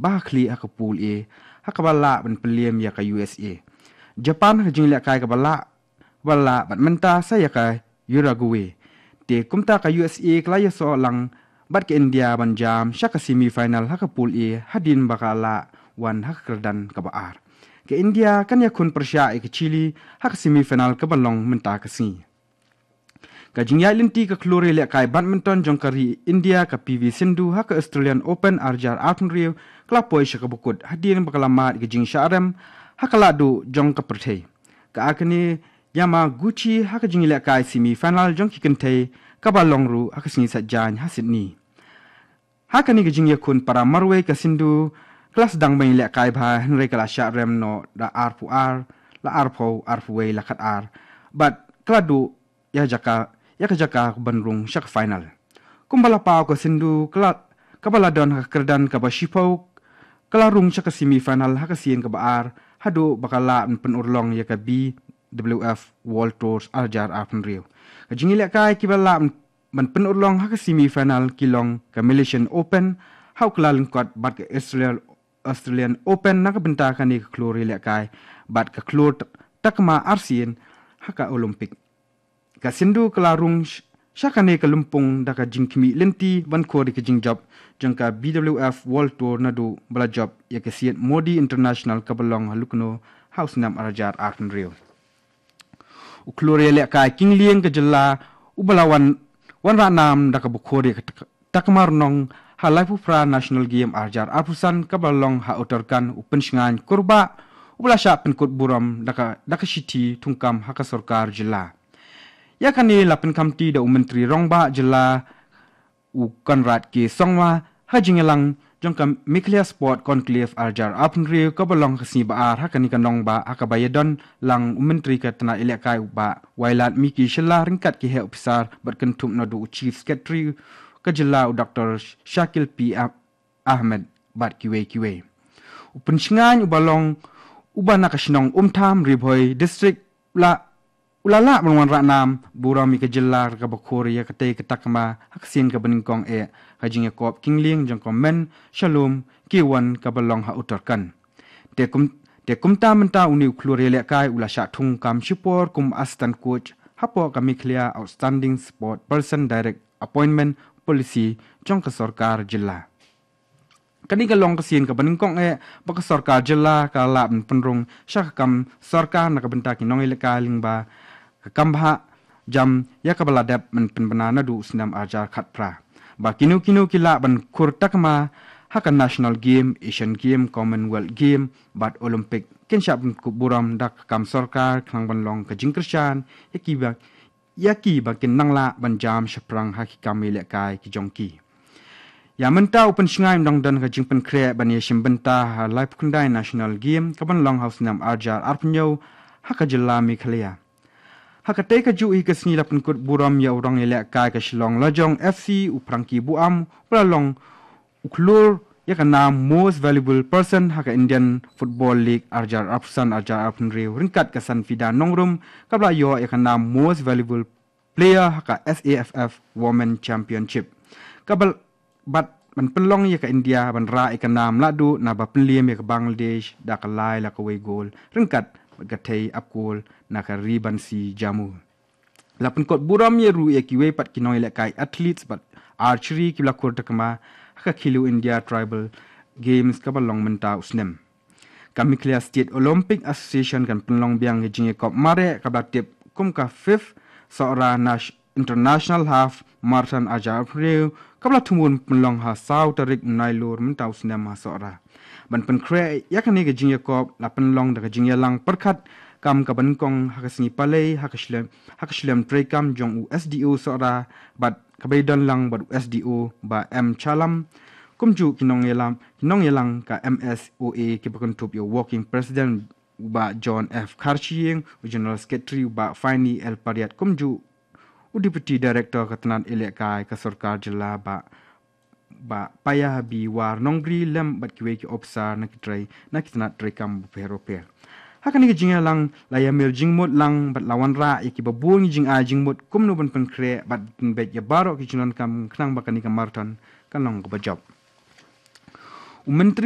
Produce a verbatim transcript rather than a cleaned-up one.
ba ha khlieh ha ka pool A, ha kaba lah ban pynliem ïa ka U S A. Japan ha ka jingïalehkai kaba lah, ba lah bad mynta sa ïa ka Uruguay. Te kumta ka U S A ka la ïasoh lang bad ka India ban jam sha ka semi final ha ka pool A hadien ba ka la wan ha ka kyrdan kaba ar. Ka India kan ïakhun pyrshah ïa ka Chile ha ka semi final kaba long mynta ka sngi. Ka jingïaid lynti ka khlur ïalehkai badminton jong ka ri India ka P V Sindhu ha ka Australian Open ar hajar arphew hynriew ka la poi sha kaba kut hadien ba ka la mad ïa ka jingshah rem ha ka lahduh jong ka pyrthei. Ka Akane Yamaguchi ha ka jingïalehkai semi final jong ki kynthei kaba long ruh ha ka sngi Saitjaiñ ha Sydney. Ha kane ka jingïakhun para marwei ka Sindhu ka la sdang ban ïalehkai bha hynrei ka la shah rem noh da arphew ar, la arphew, arphew wei, la khat ar. Bad ka la duh ïa jaka, ïa ka jaka ban rung sha ka final. Kumba la paw ka Sindhu ka la, kaba la don ha ka kyrdan kaba shiphew, ka la rung sha ka semi final ha ka sien kaba ar haduh ba ka lah ban pynurlong ïa ka B W F World Tours ar hajar arphew hynriew. Ka jingïalehkai kiba lah ban pynurlong ha ka semi final ki long ka Malaysian Open ha u kylla lyngkot bad ka Australian Australian Open na ka bynta kane ka khlur ïalehkai bad ka khlur t-, takma arsien ha ka Olympic. Ka Sindhu ka la rung sh-, sha kane ka lympung da ka jingkhmih lynti ban khur ïa ka jingjop jong ka B W F World Tour naduh ba la jop ïa ka Syed Modi International kaba long ha Lucknow ha u snem ar hajar arphew hynriew. U khlur ïalehkai kynglieng ka jylla uba la wan, wanrah nam da kaba khur ïa ka tak-, takma rnong ha laiphew phra National Game ar hajar arphew san kaba long ha Uttarakhand u Pynshngaiñ Kurbah uba la shah pynkut burom da ka, da ka shithi thungkam ha ka sorkar jylla. Ïa kane la pynkhamti da u Myntri Rangbah jylla u Conrad K Sangma ha jingïalang jong ka Meghalaya Sport Conclave ar hajar arphew hynriew kaba long ka sngi ba ar ha kane ka nongbah ha kaba ïadon lang u Myntri ka tnat ïalehkai u Bah Wailadmiki Shylla ryngkat ki heh ophisar bad kynthup naduh u Chief Secretary ka jylla u Doctor Shakil P Ah-, Ahmed bad kiwei kiwei. U Pynshngaiñ uba long uba na ka shnong Umtham, Ri Bhoi District la u la lah ban wanrah nam burom ïa ka jylla kaba khur ïa katei ka takma ha ka sien kaba nyngkong eh ha ka jingïakop kynglieng jong ka Men Shalom K one kaba long ha Uttarakhand. Te kum, te kumta mynta une u khlur ïalehkai u la shah thungkam shipor kum assistant coach hapoh ka Meghalaya Outstanding Sport Person Direct Appointment Policy jong ka sorkar jylla. Kane ka long ka sien kaba nyngkong eh ba ka sorkar jylla ka lah ban pynrung sha ka kam sorkar na ka bynta ki nongïalehkai lyngba ka kam bhah jam ïa kaba la dep ban pynbna naduh u snem ar hajar khatphra. Ba kino kino ki lah ban khur takma ha ka National Game, Asian Game, Commonwealth Game bad Olympic kin shah pynkup burom da ka kam sorkar khnang ban long ka jingkyrshan ïa kiba ïa kiba kin nang lah ban jam shaphrang ha ki kam ïalehkai ki jong ki. Ïa mynta u Pynshngaiñ u dang don ka jingpynkhreh ban ïashim bynta ha laiphew khyndai National Game kaban long ha u snem ar hajar arphew hynñiew ha ka jylla Meghalaya. Ha katei kajuh hi ka sngi la pynkut burom ïa u rong ïalehkai ka Shillong Lajong F C u Frankie Buam uba la long u khlur ïa ka nam Most Valuable Person ha ka Indian Football League ar hajar arphew san ar hajar arphew hynriew ryngkat ka Sanfida Nongrum kaba la ïoh ïa ka nam Most Valuable Player ha ka S A F F Women Championship. Kaba bad ban pynlong ïa ka India ban rah ïa ka nam lahduh naba pynliem ïa ka Bangladesh da ka lai la kawei gol ryngkat bad ka thei ap gol na ka Ribansi Jamu. La pynkut burom ïa ruh ïa kiwei pat ki nongïalehkai athletes bad archery kiba la khur takma ha ka Khelo India Tribal Games kaba long mynta u snem. Ka Meghalaya State Olympic Association kan pynlong biang ïa ka jingïakop mareh kaba la tip kum ka fifth Sohra Nash-, International Half Marathon ar hajar arphew hynriew kaba la thmu ban pynlong ha saw tarik u Nailur mynta u snem ha Sohra. Ban pynkhreh ïa kane ka jingïakop la pynlong da ka jingïalang pyrkhat kam kaba nyngkong ha ka sngi Palei ha ka shlem, ha ka shlem treikam jong u S D O Sohra bad kaba ïadon lang bad u S D O Bah M Chalam. Kumjuh ki nongïalam, ki nongïalang ka M S O A kiba kynthup ïa u Working President u Bah John F Kharshiing, u General Secretary u Bah Finey L Pariat kumjuh u Deputy Director ka tnat ïalehkai ka sorkar jylla Bah Bah Paya Habi War Nongbri lem bad kiwei ki ophisar na ki trei, na ki tnat treikam bapher bapher. Ha kane ka jingïalang la ïamir jingmut lang bad la wanrah ïa kiba bun ki jingai jingmut kumno ban pynkhreh bad pynbeit ïa baroh ki jingdonkam khnang ba kane ka marathon kan long kaba jop. U Myntri